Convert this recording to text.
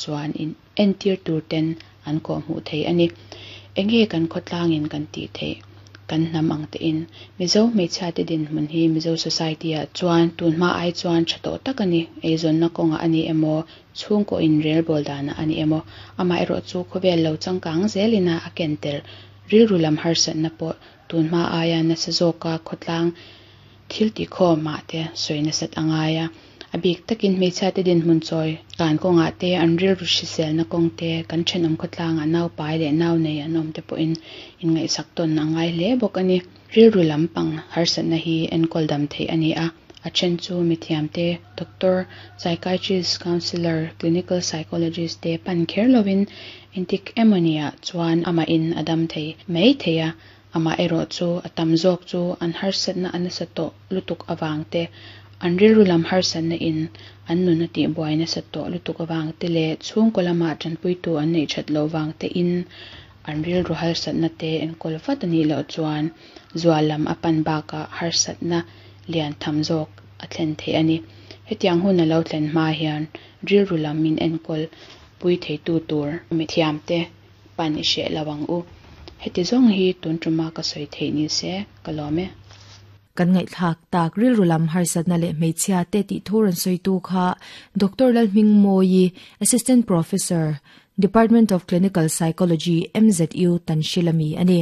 chuan in entir tur ten an kawhhmuh thei a ni. Enge kan khawtlangin kan tih theih? Kan hnam ang tein. Mizo hmeichhiate dinhmun hi Mizo society-ah chuan tunhma ai chuan tha tawh tak a ni. Eizawnna kawngah a ni emaw, chhungkaw inrelbawl danah a ni emaw, amaherawhchu khawvel lo changkang zelin a a ken tel rilru lam harsatna pawh tunhma aia nasa zawka khawtlang thil tihkhawmah te sawi nasat a ngai a. A bik takin hmeichhiate dinhmun chawi kan kawngah te, an rilru hriselna kawng te, kan thenawm khawtlangah naupai leh nau nei an awm te pawhin inngaihsak tawn a ngai hle bawk a ni. Rilru lampang harsatna hi enkawl dam theih a ni a, a then chu mithiamte, doctor, psychiatrist, counsellor, clinical psychologist te pan kher lovin engtik emawniah chuan amahin a dam thei mai thei a, Amaherawhchu, a tam zawk chu an harsatna a nasa tawh lutuk avang te, an rilru lam harsatna in an nun a tihbuai nasa tawh lutuk avang te leh chhungkaw lamah tanpuitu an neih that loh vang te in an rilru harsatna te enkawl vat a nih loh chuan zual lam a pan bakah harsatna lian tham zawk a thlen theih a ni. Hetiang hun a lo thlen hma hian rilru lam min enkawl pui theitu tur mithiamte pan i hreh lo ang u. Heti zawng hi tun tuma ka sawi theih ni se ka lawm e. Kan ngaihthlak tak rilru lam harsatna leh hmeichhia te tih thu rawn sawitu kha Doctor Lalhmingmawi, Assistant Professor, Department of Clinical Psychology, MZU, Tanhril ami a ni.